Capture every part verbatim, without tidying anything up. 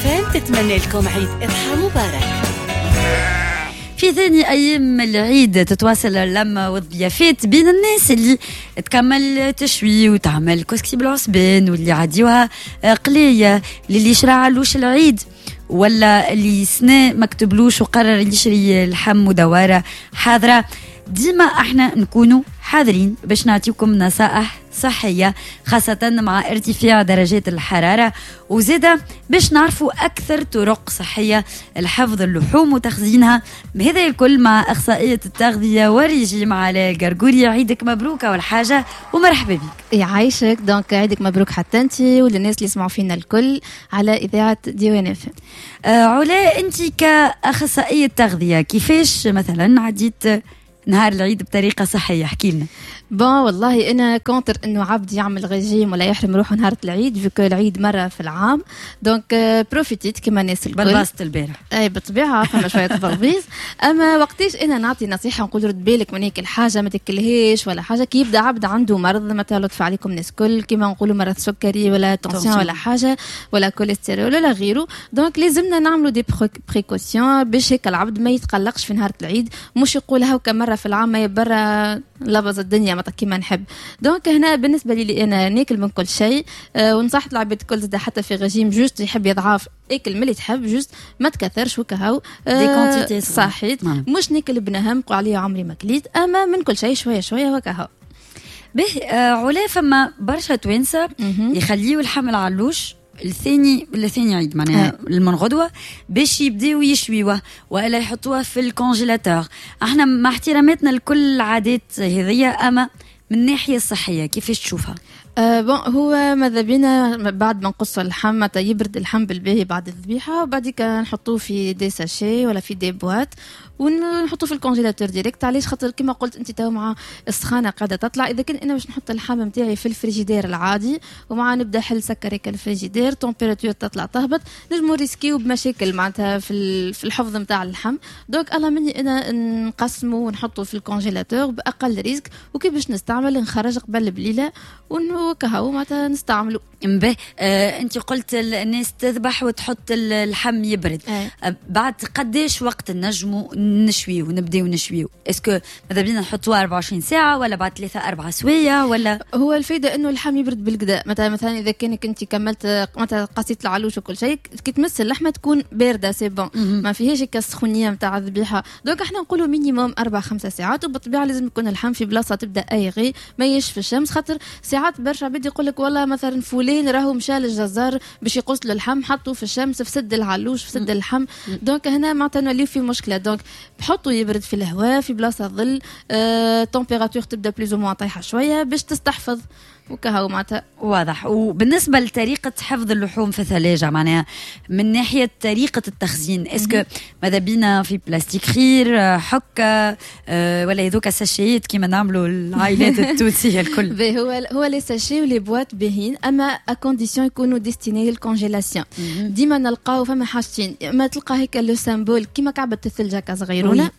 اف ام تتمنى لكم عيد اضحى مبارك. في ثاني ايام العيد تتواصل اللمة والضيافات بين الناس اللي تكمل تشوي وتعمل كسكسي بالعصبان، واللي عديوها قليه، للي شرا علوش العيد، ولا اللي سنة مكتبلوش وقرر يشري اللحم ودواره حاضره. ديما احنا نكونوا حاضرين باش نعطيكم نصائح صحية، خاصة مع ارتفاع درجات الحرارة، وزادة باش نعرفوا أكثر طرق صحية لحفظ اللحوم وتخزينها. هذا الكل مع أخصائية التغذية والريجيم علاء القرقوري. عيدك مبروك أول حاجة ومرحبا بك. يعيشك، donc عيدك مبروك حتى أنت وللناس اللي يسمعوا فينا الكل على إذاعة ديوان اف. آه علاء، أنت كأخصائية تغذية كيفاش مثلا عديت نهار العيد بطريقة صحية؟ احكي لنا. bon والله انا contre انه عبد يعمل ريجيم ولا يحرم روحه نهار العيد، vu que العيد مرة في العام، donc profit يت كما الناس الكل. بلبست البارح. اي بالطبيعه، فما شوية تبلبيز. اما وقتاش انا نعطي نصيحة نقول رد بالك من هيك الحاجه، ما تاكلهاش ولا حاجه، كي يبدا عبد عنده مرض مثلا، لطف عليكم الناس الكل، كيما نقولوا مرض سكري ولا tension ولا حاجة ولا كوليسترول ولا غيره، donc لازمنا نعملوا des précautions باش هيك العبد ما يتقلقش في نهار العيد، مش يقول هاكا مرة في العام ما برا لبز الدنيا ما كيما نحب. donc هنا بالنسبة لي انا ناكل من كل شيء، أه ونصحت العباد الكل زاد، حتى في régime juste يحب يضعف اكل من اللي تحب، juste ما تكثرش وكهو. des quantités. صحيت، نعم. مش ناكل بنهم قول عليا عمري ما كليت، اما من كل شيء شوية شوية وكهو. به آه علا، فما برشا توانسة يخليوا اللحم العلوش الثاني الثاني عيد، معناها من غدوه، باش يبداو يشويوه والا يحطوها في ال congélateur. احنا مع احتراماتنا لكل العادات هذيا، اما من الناحية الصحية كيفاش تشوفها؟ أه bon، هو ماذا بينا بعد ما نقص اللحم، متى يبرد اللحم بالباهي بعد الذبيحه، وبعديك نحطوه في des sachets ولا في des boîtes ونحطوه في ال congélateur direct. علاش؟ خاطر كما قلت انت تو مع السخانه قاعدة تطلع، اذا كان انا باش نحط اللحم نتاعي في الفريجيدير العادي ومع نبدا حل سكر هيك ال frigidaire، température تطلع تهبط، نجمو risqu يو بمشاكل معناتها في في الحفظ نتاع اللحم. donc الله مني انا نقسمه ونحطه في ال congélateur باقل risque، وكي باش نستعمل نخرج قبل بليلة وكهو معناتها نستعملوا. به آه انت قلت الناس تذبح وتحط اللحم يبرد. آه. بعد قداش وقت نجموا نشويو ونبداو نشويو؟ est-ce que ماذا بينا نحطوه أربعة وعشرين ساعة ولا بعد ثلاثة أربعة سوايع ولا؟ هو الفايدة انه اللحم يبرد بالقدا. مثلا مثلا اذا كانك انت كملت مثلا قصيت العلوش وكل شيء، كي تمس اللحمة تكون باردة c'est bon، ما فيهاش هيك السخونيه نتاع الذبيحه. donc احنا نقولوا minimum اربع خمسة ساعات، وبالطبيعه لازم يكون اللحم في بلاصة تبدا aérée، ما يش في الشمس، خاطر ساعات برشا عباد يقول لك والله مثلا فلان راهو مشى للجزار باش يقص له اللحم، حطوا في الشمس، فسد العلوش، فسد اللحم. donc هنا معناتها نوليو في مشكله. donc بحطوا يبرد في الهواء، في بلاصة ظل، آه، température تبدا plus ou moins طايحة شوية باش تستحفظ وكهو معناتها. واضح. وبالنسبة لطريقه حفظ اللحوم في الثلاجه، معناها من ناحية طريقه التخزين، est-ce que ماذا بينا في بلاستيك خير، حكه، آه، ولا هذوك sachets كيما نعملوا العائلات التونسية الكل؟ هو هو les sachets و les boîtes باهين، اما à condition يكونوا destinés لل congélation. ديما نلقاو فما حاجتين: اما تلقى هيك le symbole كيما كعبه الثلج هكا صغيرونه،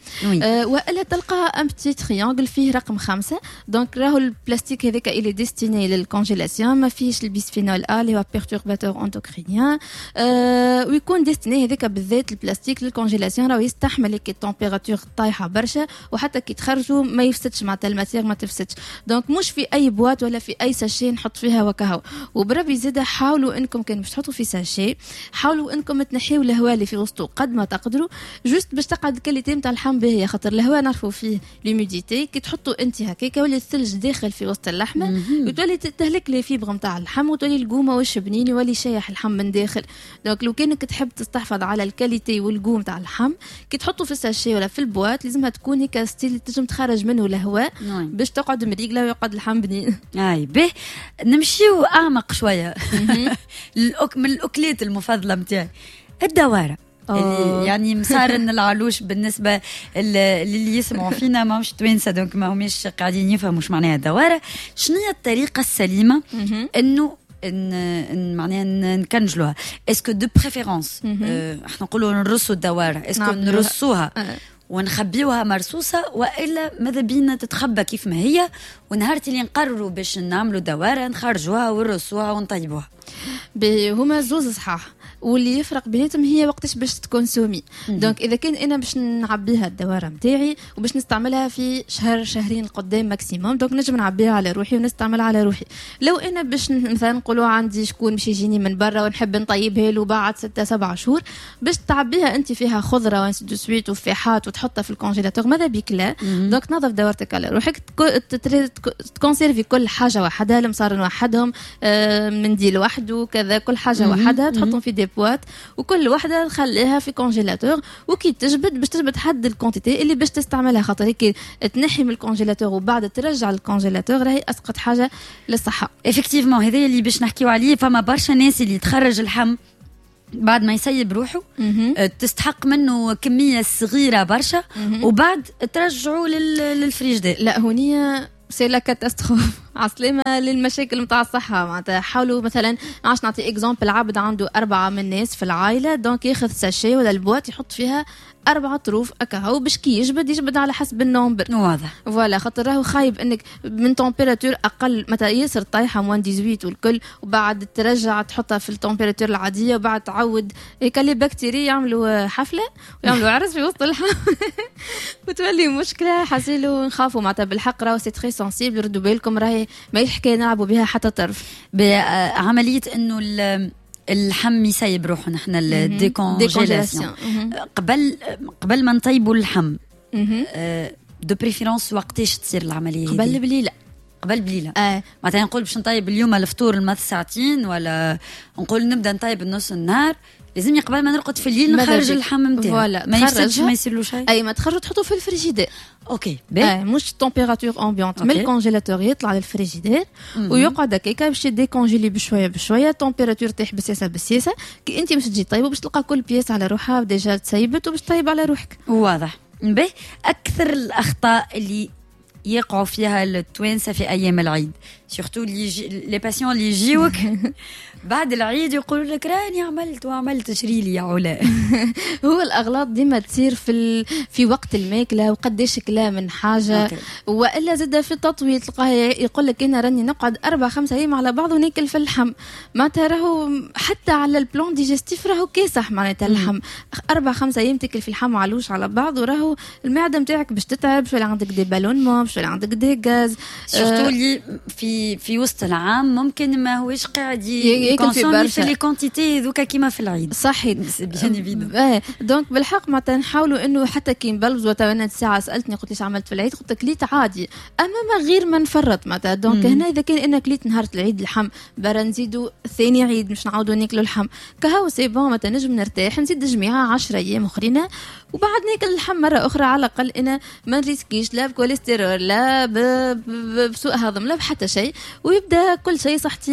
آه والا تلقى un petit triangle فيه رقم خمسة. donc راهو البلاستيك هذاك il est destiné لل congélation، ما فيهش ال bisphénol A اللي هو perturbateur endocrinien، أه ويكون destiné هذاك بالذات ال plastique لل congélation، راهو يستحمل كي ال température طايحة برشا، وحتى كي تخرجوا ما يفسدش، معناتها ال matière ما تفسدش. donc مش في اي boîte ولا في اي sachet نحط فيها وكهو. وبربي زاد حاولوا انكم كان باش تحطوا في sachet، حاولوا انكم تنحيوا الهواء اللي في وسطه قد ما تقدروا، juste باش تقعد ال qualité نتاع اللحم باهيه، خاطر الهواء نعرفوا فيه l'humidité، كي تحطوا انت هكاك يولي الثلج داخل في وسط اللحمة وتولي تهلك les fibres نتاع اللحم، وتولي ال goût ماهوش بنين، يولي شايح اللحم من داخل. donc لو كانك تحب تستحفظ على ال qualité وال goût نتاع اللحم، كي تحطوا في ال sachet ولا في ال boîte لازمها تكون هيك style تنجم تخرج منه الهواء باش تقعد مريقله ويقعد اللحم بنين. اي به، نمشيو اعمق شويه. من الاكلات المفضلة نتاعي الدواره، اللي يعني مصارن العلوش. بالنسبة للي يسمعوا فينا ماهمش توانسه، donc ما هماش قاعدين يفهموا شو معناها الدواره. شنو هي الطريقة السليمة انه ان ان معناها نكنجلوها؟ est-ce que de préférence احنا نقولوا نرصوا الدواره، est-ce que نرصوها أه. ونخبيوها مرصوصة، والا ماذا بينا تتخبى كيف ما هي، ونهار اللي نقرروا باش نعملوا دواره نخرجوها ونرصوها ونطيبوها؟ هما زوز صحاح، واللي يفرق بيناتهم هي وقتاش باش ت consommer. donc اذا كان انا باش نعبيها الدواره نتاعي وباش نستعملها في شهر شهرين قدام maximum، donc نجم نعبيها على روحي ونستعملها على روحي. لو انا باش مثلا نقولوا عندي شكون باش يجيني من برا ونحب نطيبها له بعد ستة سبعة شهور، باش تعبيها انت فيها خضرة و ainsi de suite وفيحات وتحطها في ال congélateur، ماذا بيك لا. donc تنظف دورتك على روحك، ت conserver كل حاجة وحدها، المصارن وحدهم، آه، منديل وحده، كذا، كل حاجة وحدها تحطهم في des boîtes، وكل وحده تخليها في congélateur. وكي تجبد باش تجبد حد ال quantité اللي باش تستعملها، خاطر هيك تنحي من ال congélateur وبعد ترجع لل congélateur راهي اسقط حاجة للصحة. effectivement هذا اللي باش نحكيو عليه. فما برشا ناس اللي تخرج اللحم بعد ما يسيب روحه، أه، تستحق منه كمية صغيرة برشا وبعد ترجعه للفريجدير. لا هونية c'est la catastrophe، عسلامة للمشاكل نتاع الصحة. معناتها حاولوا مثلا، عاش نعطي exemple، عبد عنده أربعة من الناس في العائلة، donc ياخذ sachet ولا ال boîte يحط فيها أربعة طروف أكاهو، باش كي يجبد يجبد على حسب ال nombre. واضح. voilà، خاطر راهو خايب انك من température اقل مثلا ياسر طايحة moins ثمنطاش والكل، وبعد ترجع تحطها في ال température العادية وبعد تعود هيك les bactéries يعملوا حفلة ويعملوا عرس في وسط اللحم وتولي مشكلة. حسيلو نخافوا معناتها بالحق، راهو c'est très sensible، ردوا بالكم، راهي ما حكاية نلعبوا بها حتى طرف. بعملية انه اللحم يسيب روحه، نحن ال décongélation قبل قبل ما نطيبوا اللحم، de préférence وقتاش تصير العملية؟ قبل بليله. قبل بليلة. آه. معناتها نقول باش نطيب اليوم الفطور الماضي ساعتين، ولا نقول نبدا نطيب النص النهار، لازمني قبل ما نرقد في الليل نخرج اللحم نتاعي. ما يفسدش، ما يصير له شيء. اي، ما تخرجوا تحطوا في الفريجيدير. OK. آه مش température ambiante، من ال congélateur يطلع للفريجيدير ويقعد هكاكا باش ي décongeler بشوية بشويه، température تطيح بالسياسة بالسياسه. كي انت باش تجي طيبة باش تلقى كل pièce على روحها déjà تسيبت وباش طيب على روحك. واضح. به اكثر الاخطاء اللي يقعوا فيها التوانسة في ايام العيد، surtout اللي les patients اللي يجيوك بعد العيد يقولوا لك راني عملت وعملت، شري لي يا علا. هو الاغلاط ديما تصير في ال... في وقت الماكلة وقداش كلا من حاجه. OK. والا زاد في التطويل، تلقاه يقول لك انا راني نقعد اربع خمسة ايام على بعض وناكل في اللحم. معناتها راهو حتى على ال plan digestif راهو كاسح. معناتها اللحم اربع خمسة ايام تاكل في اللحم علوش على بعض، وراهو المعدة نتاعك باش تتعب، باش عندك des ballonnements، باش عندك des gaz. surtout اللي في في وسط العام ممكن ما هوش قاعد ياكل في برشا في les quantités ذوكا كيما في العيد. صحيح، bien évidemment. donc بالحق معناتها نحاولوا انه حتى كي نبلزوا. تو انا الساعة سالتني قلت لي عملت في العيد، قلت لك كليت عادي اما ما غير ما نفرط معناتها. donc هنا اذا كان انا كليت نهار العيد اللحم، برا نزيدوا ثاني عيد مش نعاودوا ناكلوا اللحم كهو، c'est bon، معناتها نجم نرتاح نزيد جميعه عشرة ايام اخرين وبعد ناكل اللحم مرة اخرى. على الاقل انا ما نريسكيش لا بكوليسترول لا بسوء هضم لا بحتى شيء، ويبدا كل شيء صحتي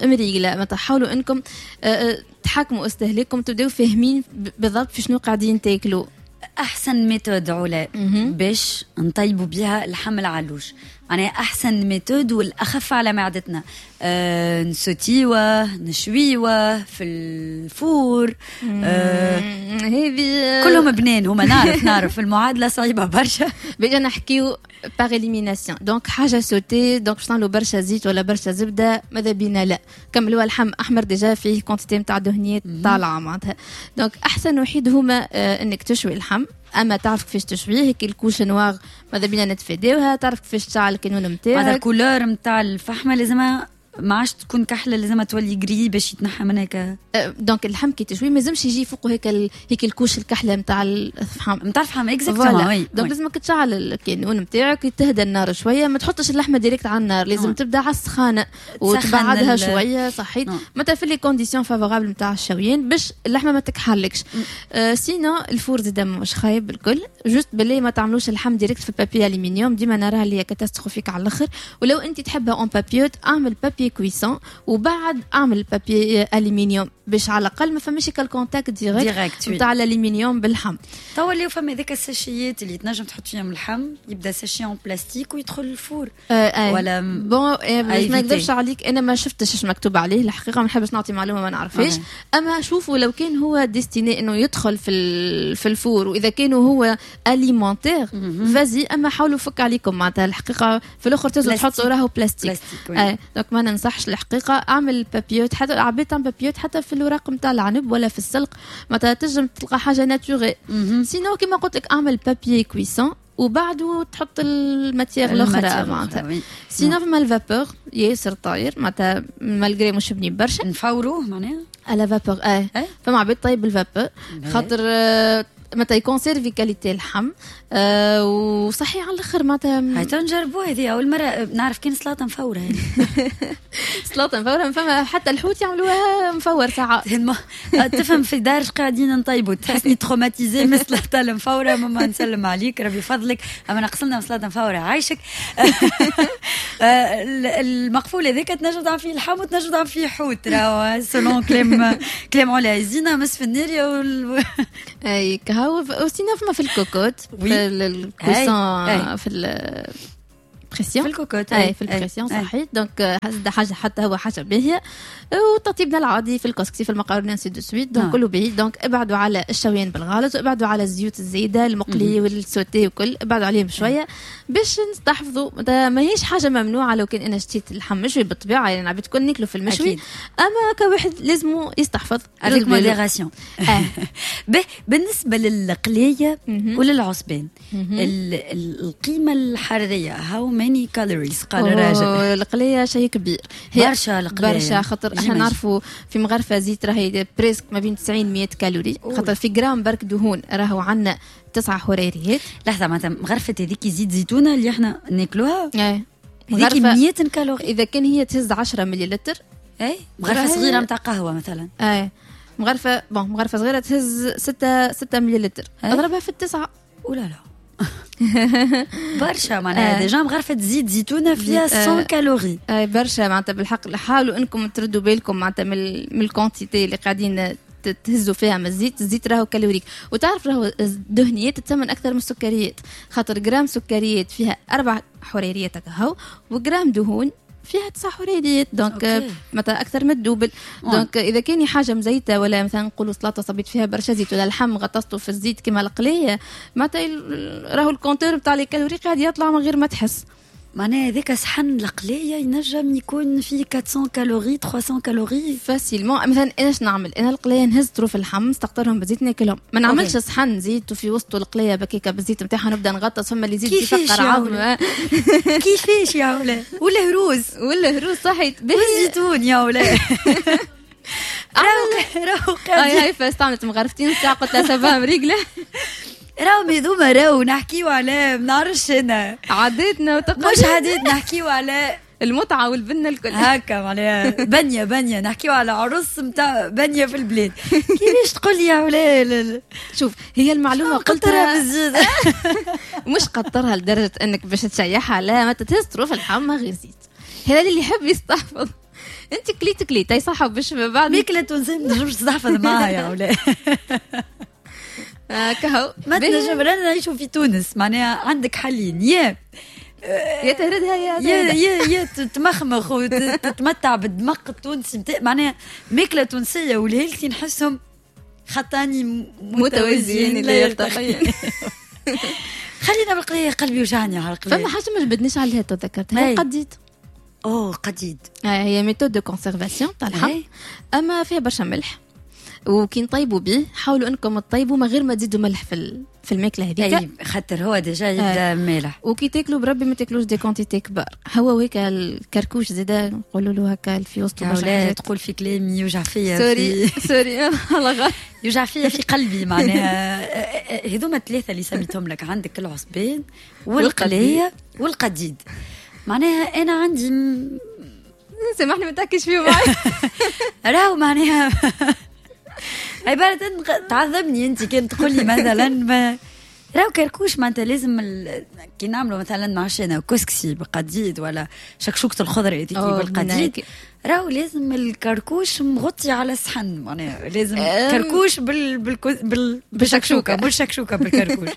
مريقله. ما تحاولوا انكم آه، آه، تحكموا استهلاككم، تبداو فاهمين بالضبط في شنو قاعدين تاكلوا. احسن méthode علا باش نطيبوا بها اللحم العلوش، معناها احسن méthode والاخف على معدتنا، أه نسوتيوه، نشويوه في ال four؟ أه هذه كلهم بنين هما، نعرف نعرف المعادلة صعيبة برشا. بيجا نحكيو par élimination، donc حاجة sautée، donc باش نعملوا برشا زيت ولا برشا زبدة ماذا بينا لا. كملوا اللحم احمر déjà فيه quantité نتاع دهنيات طالعه معناتها. donc احسن وحيد هما آه انك تشوي اللحم، اما تعرف كيفاش تشويه، هيك ال couche noire ماذا بينا نتفاداوها، تعرف كيفاش تشعل الكانون نتاعك. هذا ال couleur نتاع الفحمه لازمها ما عادش تكون كحلة، لازم تولي gris باش يتنحى من هيك. donc اللحم كي تشوي ما لازمش يجي فوقه هيك ال... هيك ال couche الكحله نتاع الفحم. نتاع الفحم، exactement. donc لازمك تشعل الكانون نتاعك، تهدى النار شويه، ما تحطش اللحمة direct على النار، لازم تبدا على السخانه وتبعدها شويه. صحيت، معناتها في les conditions favorables نتاع الشويين باش اللحمة ما تكحلكش. آه sinon ال four زاد مش خايب بالكل، juste بالله ما تعملوش اللحم direct في papier aluminium، ديما نراها اللي هي catastrophique على الاخر. ولو انت تحبها en papillote، اعمل papier cuisson وبعد اعمل papier aluminium باش على الاقل ما فماش ال contact direct نتاع الالومنيوم باللحم. توا اللي فما هذاك الساشيات اللي تنجم تحط فيهم اللحم، يبدا sachet en plastique ويدخل ال four. آه آه. ولا bon آه ما نكذبش عليك، انا ما شفتش ايش مكتوب عليه الحقيقه، ما نحبش نعطي معلومة ما نعرفهاش. آه. اما شوفوا لو كان هو destiné انه يدخل في في ال four واذا كان هو alimentaire vas-y، اما حاولوا فك عليكم معناتها الحقيقة في الاخر تزو تحطوا راهو بلاستيك. آه. donc ما ننصحش الحقيقة. اعمل papillotes، حتى العباد تعمل papillotes حتى في الوراق نتاع العنب ولا في السلق، معناتها تنجم تلقى حاجة naturelle. sinon كيما قلت لك اعمل papier cuisson وبعده تحط ال matière الاخرى معناتها. sinon فما ال vapeur ياسر طاير معناتها malgré مش بنين برشا. نفوروه معناها à la vapeur. اه فما عباد طيب بال vapeur خاطر معناتها ي conserver qualité اللحم آه وصحي على الاخر معناتها. هاي نجربوها هذه اول مرة نعرف كان سلطة مفوره هذه. سلطة مفوره، فما حتى الحوت يعملوها مفور ساعات. تفهم في دار قاعدين نطيبوا، تحسني traumatisée من السلطة المفوره. ماما نسلم عليك ربي يفضلك، اما نقصلنا سلطة مفوره عايشك. المقفول هذاك تنجم تعمل فيه اللحم وتنجم تعمل فيه حوت، راهو selon كلام كلام علا زينة مس في النارية وال... اي كهو. sinon فما في الكوكوت في ال cuisson في pression، في الكوكوت. اي في ال pression صحيح. donc حاجة حتى هو حاجة باهيه، وتطيبنا العادي في الكسكسي في المقارونه ainsi de suite، donc كله باهي. donc ابعدوا على الشويان بالغلط، وابعدوا على الزيوت الزايدة المقلي وال sauté وكل، ابعدوا عليهم شوية باش نستحفظوا. ماهيش حاجة ممنوعة لو كان انا شتيت اللحم مشوي بالطبيعة، يعني عباد كل ناكلوا في المشوي، اما كواحد لازم يستحفظ avec modération. بالنسبة للقليه وللعصبان القيمة الحرارية how many calories قال الراجل؟ القليه شيء كبير، هي برشا القليه برشا، خاطر احنا نعرفوا في مغرفه زيت راهي presque ما بين تسعين مية calories، خاطر في جرام برك دهون راهو عندنا تسعة حراريات. لحظة، معناتها مغرفه هذيك زيت زيتونه اللي احنا ناكلوها ايه هذيك مية calories اذا كان هي تهز عشرة مليلتر. اي مغرفه صغيرة نتاع قهوة مثلا. اي مغرفه bon مغرفه صغيرة تهز ستة ستة مليلتر، اضربها في التسعة. ولا لا برشا معناها déjà مغرفه زيت زيتونه فيها مية calories. اي برشا معناتها بالحق. حاولوا انكم تردوا بالكم معناتها من ال quantité اللي قاعدين تهزوا فيها من الزيت. الزيت راهو calorique، وتعرف راهو الدهنيات تسمن اكثر من السكريات، خاطر جرام سكريات فيها اربع حراريات هكا، وجرام دهون فيها تسع حراريات، donc مثلا اكثر من ال double. donc اذا كان حاجة مزيته ولا مثلا نقولوا سلطة صبيت فيها برشا زيت ولا لحم غطسته في الزيت كما القليه، معناتها راهو ال compteur بتاع les calories قاعد يطلع من غير ما تحس. معناها هذاك صحن القليه ينجم يكون فيه أربعمية calories ثلاثمية calories facilement. مثلا انا اش نعمل؟ انا القليه نهز طروف اللحم نستقطرهم بالزيت ناكلهم، ما نعملش صحن زيت وفي وسطه القليه بكيكه بالزيت نتاعها نبدا نغطس، فما اللي يزيد يفقر عظم. كيفاش يا ولا ولا هروس ولا هروس صحيت والزيتون يا ولا راهو راهو هاي هاي فاستعملت مغرفتين ساعة قلت لها ça va مريقله. راهم هذوما راهو نحكيو على ما نعرفش انا عاداتنا وتقاليدنا، مش عادات، نحكيو على المتعة والبنه الكل هكا معناها بنيه بنيه نحكيو على عرس نتاع بنيه في البلاد. كيفاش تقول لي يا ولا؟ شوف هي المعلومة قلتها بالزيت مش قطرها لدرجة انك باش تشيحها، لا ما تهز طروف اللحم غير زيت. هذا اللي يحب يستحفظ. انت كليت كليت اي صح باش بعد ماكله تونسية ما تنجمش تستحفظ معاها يا ولا. كهو ما تنجم. رانا نعيشوا في تونس معناها عندك حلين، يا يا تهردها يا يا يا يا تمخمخ وتتمتع بالدمق التونسي نتاع معناها ماكله تونسية وال healthy نحسهم خطاني متوازيين لا يلتقيان. خلينا بالقليه، قلبي وجعني على القليه. فما حاجة ما جبدناش عليها تذكرتها، القديد. اوه قديد هي méthode de conservation تاع اللحم، اما فيها برشا ملح، وكي نطيبوا به حاولوا انكم تطيبوا من غير ما تزيدوا ملح في في الماكلة هذيك، اي خاطر هو déjà يبدا مالح. وكي تاكلوا بربي ما تاكلوش des quantités كبار. هو وهيك الكركوش زاده نقولوا له هكا في وسط برشا حاجات. تقول في كلامي يوجع فيا، sorry sorry الله غالب يوجع فيا في قلبي معناها. هذوما الثلاثة اللي سميتهم لك، عندك العصبان والقليه والقديد. معناها انا عندي م... سامحني ما تحكيش فيه معي راهو معناها عبارة تعذبني انت كان تقول لي مثلا ما راهو كركوش معناتها لازم ال... كي نعملوا مثلا معشنا كسكسي بقديد ولا شكشوكة الخضرة هذيك بالقديد، راهو لازم الكركوش مغطي على الصحن، معناها لازم كركوش بال بال بال بالشكشوكة، مش شكشوكة بالكركوش.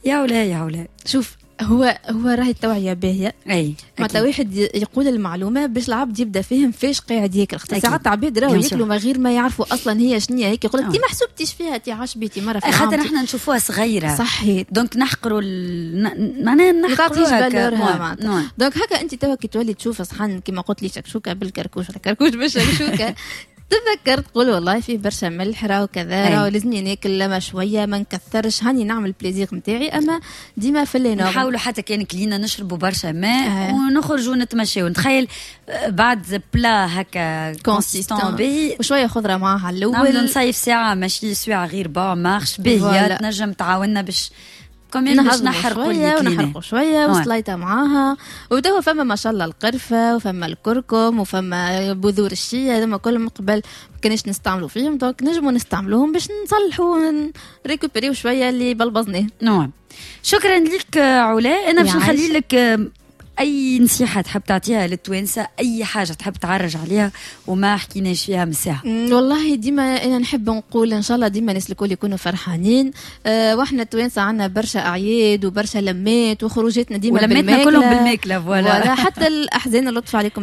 يا ولا يا ولا شوف هو هو راهي التوعية باهيه. اي. معناتها واحد يقول المعلومة باش العبد يبدا فاهم فاش قاعد ياكل، خاطر ساعات عباد راهو ياكلوا من غير ما يعرفوا اصلا هي شنو هيك، يقول لك تي ما حسبتيش فيها، تي عشبيتي مرة في خاطر احنا نشوفوها صغيرة. صحيح. donc نحقروا ال... معناها نحقروا valeur ها معناتها. donc هكا انت توا كي تولي تشوف صحن كيما قلت لي شكشوكه بالكركوش ولا كركوش بالشكشوكه، تذكر تقول والله فيه برشا ملح راهو كذا، راهو لازمني ناكل لما شوية ما نكثرش، هاني نعمل plaisir نتاعي، اما ديما في les normes. نحاولوا حتى كان كلينا نشربوا برشا ماء آه. ونخرجوا نتمشيو. نتخيل بعد plat هكا consistant باهي وشوية خضرة معاها الاول، نعملوا نصيف ساعة ماشي ساعة غير با marche باهيه، تنجم تعاوننا باش quand même باش نحرقوا. شوية ونحرقوا شوية وسليطه معاها. وتوا فما ما شاء الله القرفه وفما الكركم وفما بذور الشيا، هذوما كلهم قبل ما كناش نستعملوا فيهم، donc نجموا نستعملوهم باش نصلحوا récupérer يو شوية اللي بلبزناه. نعم، شكرا لك علا. انا باش نخلي لك اي نصيحة تحب تعطيها للتوانسه، اي حاجة تحب تعرج عليها وما حكيناش فيها من ساعه. والله ديما انا نحب نقول ان شاء الله ديما الناس الكل يكونوا فرحانين. أه واحنا التوانسة عندنا برشا اعياد وبرشا لمات وخروجاتنا ديما بالماكله، كلهم بالماكله. voilà، حتى الاحزان اللطف عليكم.